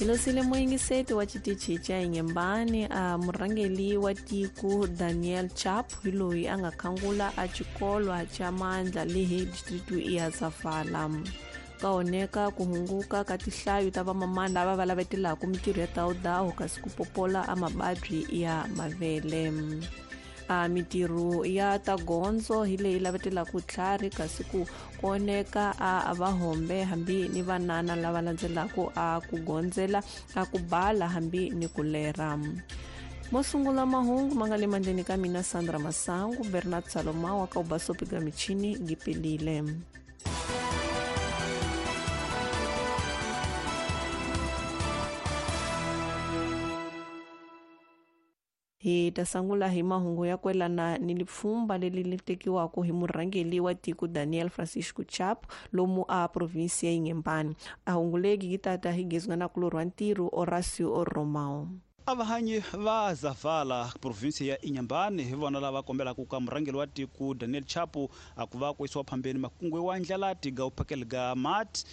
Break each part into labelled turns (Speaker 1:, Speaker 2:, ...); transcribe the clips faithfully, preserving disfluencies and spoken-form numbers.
Speaker 1: Hilosile muyingiseti wa xitichi xa Inhambane a murhangeri wa tiko Daniel Chapo hi loyi a nga khangula a xikolwa xa mandla lehi district ya Zafala. Ka oneka ku hunguka ka tihlayo ta vamamana lava va lavetelaka mintirho ya dawudawu kasi ku popola a mababyi ya mavele. A mintirho ya ta gondzo hi leyi lavetelaka tlhari kasi ku koneka a vahombe hambi ni vanana lava landzelaka a ku gondzela a ku bala hambi ni ku lera. Mo sungula mahungu ma nga le mandleni ka mina Sandra Masangu, Bernard Salomao wa ka ubasopi ga michini ngipelile. Hi ta sungula hi mahungu ya kwelana ni lipfumba leri li tekiwaka hi murhangeri wa tiko Daniel Francisco Chapo lomu a provinsi ya Inhambane. A hungu legi yi tata hi gezwa na kulorwa ntirho Horacio Romao.
Speaker 2: Avahanyi va Zavala provinsi ya Inhambane hi vona lava kombelaka ka murhangeri wa tiko Daniel Chapo a ku va ku yisiwa phambeni makungu wa ndlela tiga u phakela ga mati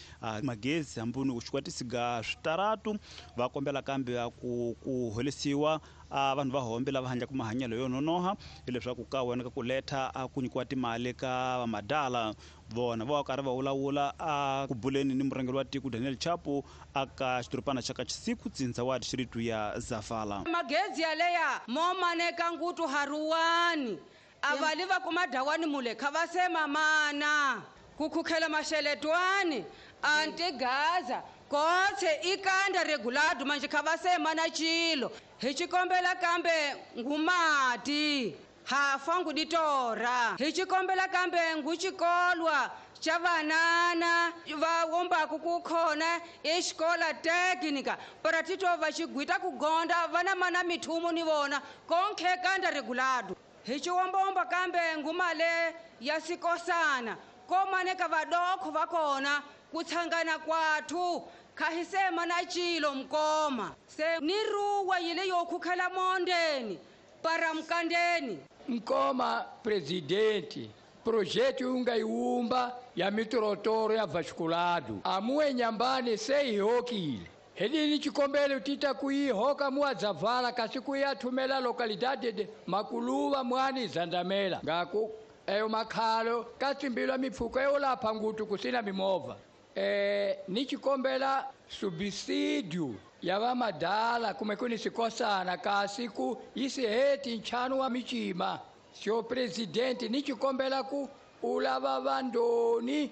Speaker 2: magezi hambuni ku xikwatisi ga switaratu. Va kombela kambe ku ku holisiwa a vanhu va hombe lava handlaka mahanyelo yo nonoha hileswaku ka wena ka ku letha a ku nyikiwa timali ka vamadala. Vona va karhi va vulavula a ku buleni ni murhangeri wa tiko Daniel Chapo aka xidorobana xa ka Chisiku tsindza wa district ya Zafala.
Speaker 3: Magezi yaleya mo maneka ngutu haruwani avali va kuma dawani mule kha va se mamana kukhukhela masheletwani antigaza kotse ikanda regulado manje kha va se mana chilo hi xikombela kambe ngumati hafa nguditora hi xikombela kambe nguxikolwa xa vanana va wombaku ku khona exikola teknika para tito va xigwita ku gonda vana mana mithumu ni vona konkhe kanda regulado hi xiwombomba kambe ngumale ya sikosana komaneka vadokho va kona ku tshangana kwathu kha hi sema na chilo mkoma se ni ruwa yile yo khukhela mondeni para mkandeni.
Speaker 4: Mkoma presidente projeto ungayiumba ya mitorotoro ya vasculado amuwe Inhambane seihokile helini chikombelo tita kuihoka muadzavala kasi kuyathumela localidade de Makuluva mwani Zandamela ngaku eyo makhalo katsimbilwa mipfuko eyolapha ngutu kusina mimovha. E, ni chikombela subsidio ya vamadala kume kuni sikosana kasi ku isiheti nchanu wa michima. Sio presidente ni chikombela ku ulava vandoni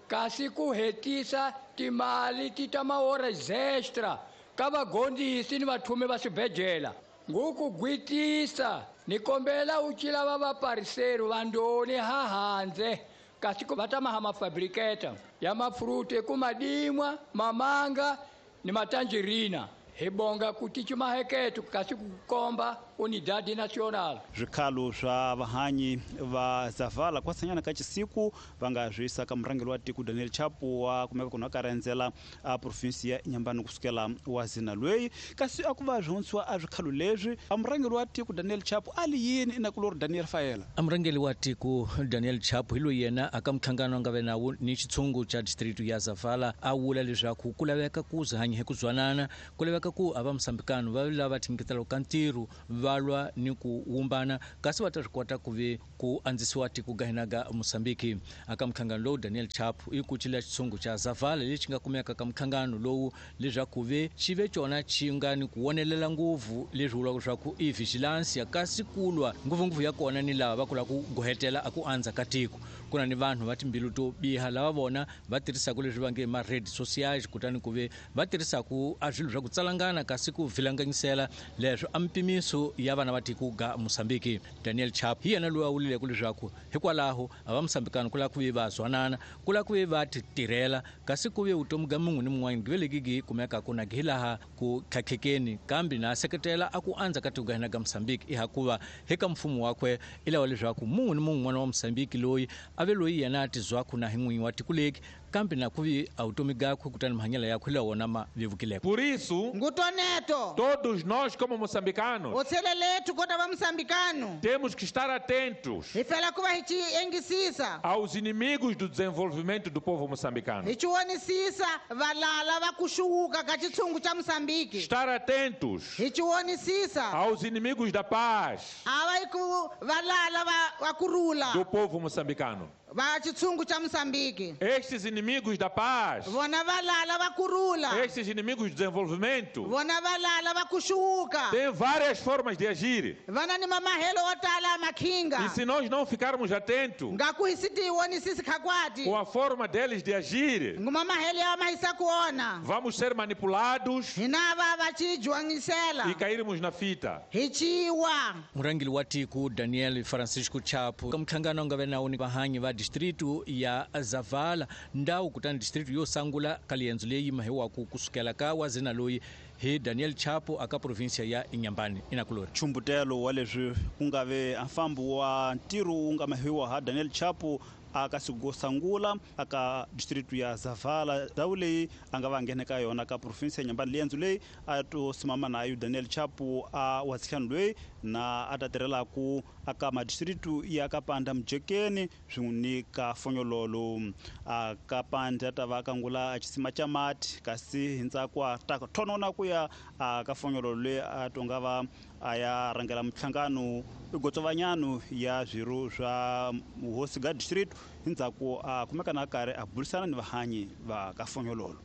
Speaker 4: kasi ku hetisa timali tita maora extra ka vagondisi ni vathume va swibedlhela ngukugwitisa nikombela uchila va vapariseri vandoni hahandze kasi ku va ta maha mafabriketa ya mafruti kumadimwa mamanga ni matanjerina hi bonga ku tichi maheketo kasi ku komba unidade nacional.
Speaker 2: Swikhalo swa vahanyi va Zavala kwasanyana ka Chisiku va nga swi yisa ka murhangeri wa tiko Daniel Chapo wa kumeka kuna ka rendzela a provinsi ya Inhambane kusukela wa zina lweyi kasi a ku va swihunsiwa a swikhalo leswi a murhangeri wa tiko Daniel Chapo a li yini ina kulori Daniel Faela.
Speaker 5: A murhangeri wa tiko Daniel Chapo hi loyi yena aka mhlangano nga ve nawu ni xitshungu xa district ya Zavala a vula leswaku ku laveka ku hanya hi ku zwanana ku laveka ku a va Mosambikano va lava tinyiketela ka ntirho va lwa ni ku wumbana kasi va ta swi kota ku ve ku andzisiwa tiko ga hina ga Mosambiki. Aka mhlangano lowu Daniel Chapo i kucile xitshungu xa Zavala lexi nga kumeka ka mhlangano lowu leswaku ve xi ve cona xi nga ni ku wonelela ngopfu leswi vulaka leswaku i vigilance ya kasi ku lwa ngopfungopfu ya kona ni lava va kula ku gohetela a ku andza ka tiko. Ku na ni vanhu va timbilu to biha lava vona va tirhisaka leswi va nge ma red socials kutani ku ve va tirhisaka a swilo swa ku tsalangana kasi ku vilanganyisela leswo a mpimiso ya vana va tiko ga Mosambiki. Daniel Chapo hi yena loyi a vulileke leswaku hikwalaho a va Mosambikano ku lava ku ve va zwanana ku lava ku ve va ti tirhela kasi ku ve vutomi ga mun'we ni mun'wana gi ve legi gi kumekaka na gi laha ku tlhatlhekeni kambe na seketela a ku andza ka tiko ga hina ga Mosambiki i hakuva eka mfumo wakwe i lava leswaku mun'we ni mun'we n'wana wa Mosambiki loyi a ve loyi yena a tizwaku na hi n'winyi wa tiko leki Kambe na kuvi a vutomi gakwe kutani mahanyelo yakwe lawona ma vevukileko.
Speaker 6: Por isso,
Speaker 7: Ngutoneto,
Speaker 6: todos nós como moçambicanos
Speaker 7: otsheleletu kota va moçambicano
Speaker 6: temos que estar atentos
Speaker 7: hi fela ku va hi ci engisisa
Speaker 6: aos inimigos do desenvolvimento do povo moçambicano.
Speaker 7: Hi ci vonisisa valala va ku xuwuka ka xitshungu xa Moçambique.
Speaker 6: Estar atentos
Speaker 7: hi ci vonisisa
Speaker 6: aos inimigos da paz
Speaker 7: a va ku valala va va ku rula
Speaker 6: do povo moçambicano.
Speaker 7: Va xitshungu xa Moçambique.
Speaker 6: Estes inimigos da paz,
Speaker 7: vona valala va ku rula,
Speaker 6: estes inimigos do desenvolvimento,
Speaker 7: vona valala va ku xuwuka,
Speaker 6: têm várias formas de agir.
Speaker 7: Vana ni mamahelo wo tala makhinga.
Speaker 6: E se nós não ficarmos atentos
Speaker 7: nga ku hi si ti vonisisi khakwati
Speaker 6: com a forma deles de agir,
Speaker 7: ngumamahelo ya mahisa ku ona,
Speaker 6: vamos ser manipulados
Speaker 7: hina va va ci juangisela
Speaker 6: e cairmos na fita.
Speaker 7: Hi ciwa.
Speaker 5: Murhangeri wa tiko Daniel Francisco Chapo ka muhlangano nga ve na woni vahanyi va distrito ya Zavala ndhawu kutani distrito yo sangula ka liendzo leyi mahiwaku kusukela ka wazina loyi hi Daniel Chapo aka provinsia ya Inhambane inakulori.
Speaker 2: Chumbutelo wa leswi ku nga ve mfambo wa ntirho wu nga mahiwa ha Daniel Chapo aka sangula aka distrito ya Zavala ndhawu leyi a nga va nghena ka yona ka provinsia ya Inhambane. Liendzo leyi a to simama nayo Daniel Chapo a wasihlanu loyi na a ta tirhelaku aka madistritu ya Kapanda Mjekeni swin'we ni ka Fonyololo. A Kapanda ta va kangula a xisima xa mati kasi hi ntsako a ta thonona ku ya a ka Fonyololo leyi a to nga va a ya rhangela mihlangano igotsovanyano ya swirho swa hosi ga district hi ndzhaku a kumeka na karhi a burisana ni vahanyi va ka Fonyololo.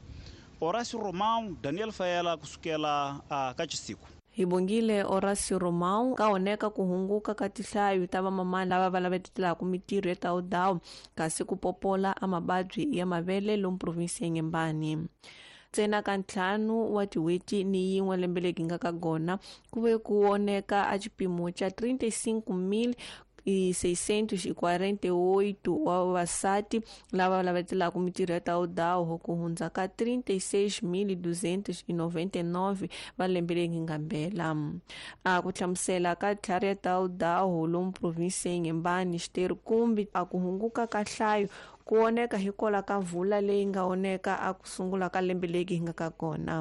Speaker 2: Horacio Romão, Daniel Faela kusukela a ka Chisiku.
Speaker 1: Hi bongile Horacio Romão ka oneka ku hunguka ka tihlayo ta vamamani lava va lavetelaka mitirho ya tawudawu kasi ku popola a mavabyi ya mavele lomu provinsi ya Inhambane. Ntsena ka ntlhanu wa tin'hweti ni yin'we lembe leri nga ka gona ku ve ku oneka a xipimo xa trinta e cinco mil e seiscentos e quarenta e oito wa vavasati lava lavetelaka mitirho ya tawudawu ku hundza ka trinta e seis mil duzentos e noventa e nove va lembe leri nga mbela. A ku hlamusela ka tlhari ya tawudawu lomu provinsi ya Inhambane xiteru kumbe a ku hunguka ka nhlayo ku oneka hikwalaho ka mvula leyi nga oneka a ku sungula ka lembe leri hi nga ka kona.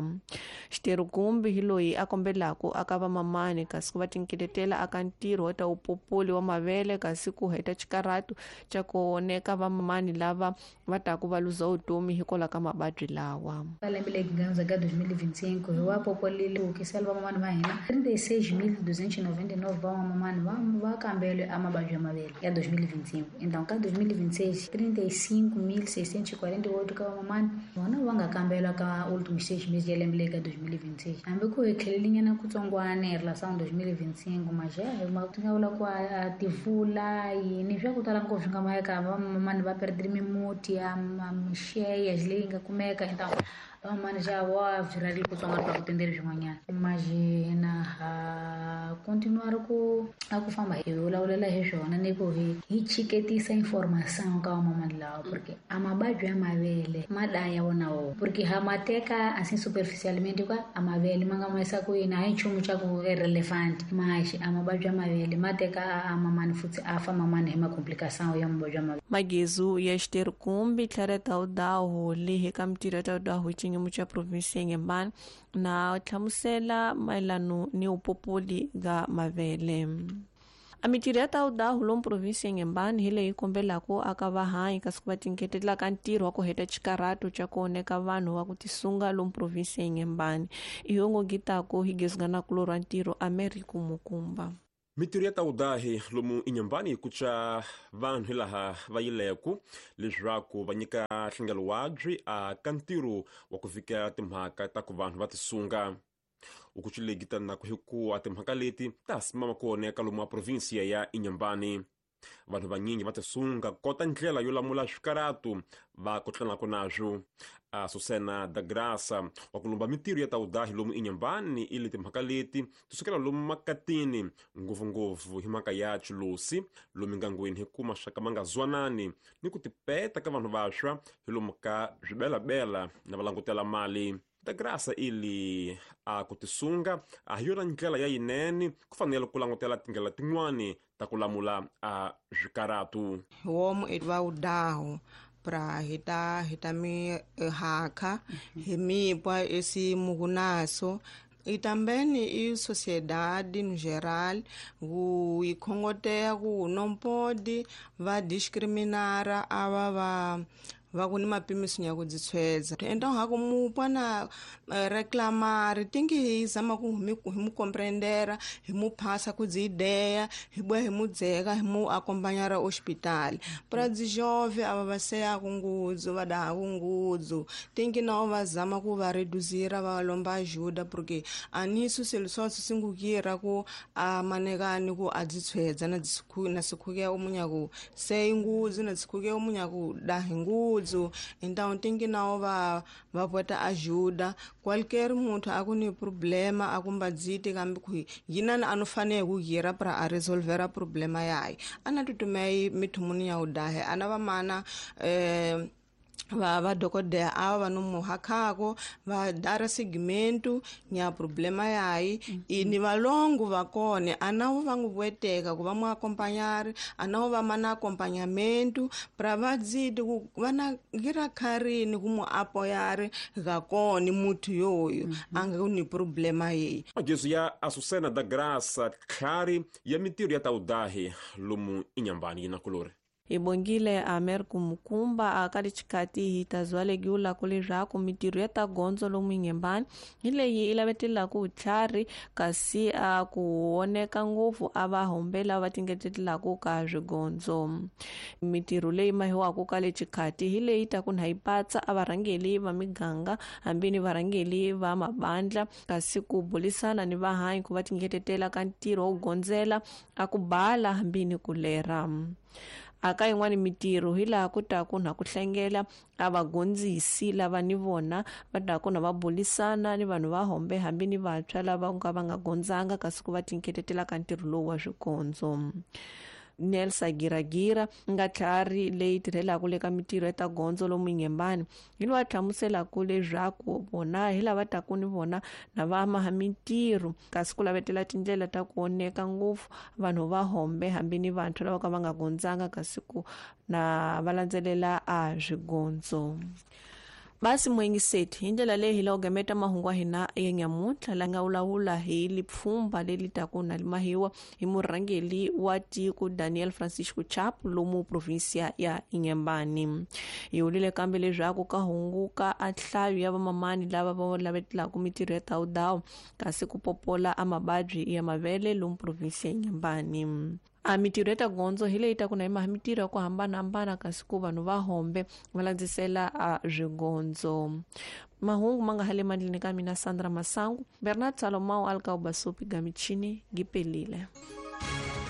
Speaker 1: Xiterukumbi hi loyi a kombelaka aka vamamani kasi ku va tinkeletela aka ntirho wa ta upopoli wa mavele kasi ku heta xikarhatu xa ku oneka vamamani lava va taku va luza vutomi hikwalaho ka mavabyi lawa.
Speaker 8: Ka lembe leri nga hundza ka dois mil e vinte e cinco hi wa popolile ku kisela vamamani va hina trinta e seis mil duzentos e noventa e nove vamamani va va kambele a mavabyi ya mavele ya dois mil e vinte e cinco. Então ka dois mil e vinte e seis trinta e cinco mil seiscentos e quarenta e oito ka vamamani vona va nga kambela ka últimos seis meses ya lembe leri ka dois mil e vinte e seis. Hambi ku hi tlhelelinyana kutsongwana hi relação dois mil e vinte e cinco mas ja ti nga vula ku a tivula yini swa ku tala ngopfu swi nga maheka vamamani va perdile mimuti ya mixeya leyi nga kumeka então vamamani já wa byi kutsongwana va ku tendeli swin'wanyana mas hina ha continuar ku a ku famba hi vulavulela hi swona ni ku hi hi chiketisa informação ka vamamani lawa porque a mavabyi ya mavele ma daya wona wo porque ha ma teka assim superficialmente ka a mavele ma nga ma ku yini a hi nchumu xa ku irrelevant mas a mavabyi ya mavele ma teka a mamani futhi a fa mamani hi macomplicação ya mavabyi ya mavele.
Speaker 1: Magezu ya xiterukumbi tlhela tawudawu lehi ka mitirho ya tawudawu hi xiyimo xa provinsi ya Inhambane na hlamusela mayelano ni upopoli ga mavele. A mitirho ya tawudawu lomu provinsi ya Inhambane hi leyi kombelaka aka vahanyi kasi ku va tinketela ka ntirho wa ku heta xikarhatu xa ku oneka vanhu va ku tisunga lomu provinsi ya Inhambane. Ihongo gitako hi gezungana kulorwa ntirho Americo Mukumba.
Speaker 9: Mitirho ya tawudahi lomu Inhambane ku tsa vanhu hilaha va yileku leswaku va nyika nhlengelo wabyi a ka ntirho wa ku vhikela timhaka ta ku vanhu va tisunga. Ukuchile na ku hikuva timhaka leti ta simama ku oneka lomu a provinsia ya Inhambane. Vanhu vanyingi va tisunga kota ndlela yo lamula swikaratu va kotlanaka naswo. A Susana da Graça wa ku lumba mitirho ya tawudahi lomu Inhambane ili timhaka leti ti sukela lomu makatini ngopfungopfu hi mhaka ya chilosi lomu ngangweni hi ku maxaka ma nga zwanani ni ku tipeta ka vanhu vantshwa hi lomu ka swibelabela na va langutela mali. Da Graça ili a ku tisunga a hi yona ndlela ya yinene ku fanele ku langutela tindlela tin'wani ta ku lamula a swikaratu.
Speaker 10: Homu i va wudahu pra hita hita mi haka hi mipwa esse mugunaso. E também e sociedade no geral, o e congotea o não pode va discriminar ava va va ku ni mapimiso ya ku dzitshwedza. Então ha ku mu pona reclamar tem que hi zama ku hi mu compreender, hi mu passa ku dzi ideia, hi boa hi mu dzeka, hi mu acompanhar ao hospital. Para dzi jovem ava va seya ku ngudzu, va daha ku ngudzu. Tem que não va zama ku va reduzir, va lomba ajuda porque anisso solução singukira ku a manekani ku a dzitshwedza na dzikhu na sikhuke omunya ku sei ngudzu na dzikhuke omunya ku daha ngudzu. Então tem que não va va bota ajuda qualquer muntu akuni problema akumbadziti kambi ku yinana anofanele ku gira para a resolver a problema yayi ana tutumei mithumuni ya udahe ana va mana eh va va dokodela ava va no hakhako va dara segmento nya problema yayi ini valongo va kone anawo va nguvweteka ku va mu acompanhar anawo va mana acompanhamento pra va dziti ku va na gira kharini ku mu apoiar ga kone muthu yoyo anga ni problema yeyi.
Speaker 9: Magezo ya Azucena da Graça Tlhari ya mintirho ya taudahi lomu Inhambane yi na kulori.
Speaker 1: Ibongile Amer Kumukumba akali chikati hitazwalegiula kulezvaku mitirho ya ta gondzo lomu Inhambane hi leyi i lavetelaka vutlhari kasi a ku oneka ngopfu a va hombela va tingetelaka ka swigondzo. Mitirho leyi mahiwaka ka le chikati hi leyi ta ku na yi patsa a varhangeli va miganga hambi ni varhangeli va mabandla kasi ku bulisana ni vahanyi ku va tingetetela ka ntirho wo gondzela a ku bala hambi ni ku lera. Aka yin'wana mitirho hi laha ku ta ku na ku hlengela a vagondzisi lava ni vona va ta ku na va bulisana ni vanhu va hombe hambi ni vantshwa lava nga va nga gondzanga kasi ku va tinketetela ka ntirho lowu wa swigondzo. Nelsa Giragira nga tlhari leyi tirhelaka le ka mitirho ya ta gondzo lomu Inhambane hi loyi a hlamuselaka leswaku vona hi lava taku ni vona na va maha mintirho kasi ku lavetela tindlela ta ku oneka ngopfu vanhu va hombe hambi ni vantshwa lava ka va nga gondzanga kasi ku na va landzelela a swigondzo. Basi mwengiseti hi ndlela leyi hi la ugameta mahungu hina ya nyamuntlha la nga vulavula hi lipfhumba leri taku na limahiwa hi murhangeri wa tiko Daniel Francisco Chapo lomu provinsia ya Inhambane. Hi vulile kambe leswaku ka hunguka a nhlayo ya vamamani lava va lavetelaka mitirho ya tawudawu kasi ku popola a mavabyi ya mavele lomu provinsia ya Inhambane. A mitirho ya ta gondzo hi leyi ta ku na yi maha mitirho ya ku hambanahambana kasi ku vanhu va hombe va landzisela a swigondzo. Mahungu ma nga ha le mandleni ka mina Sandra Masangu, Bernard Salomao alika ubasupi gamichini gipelile.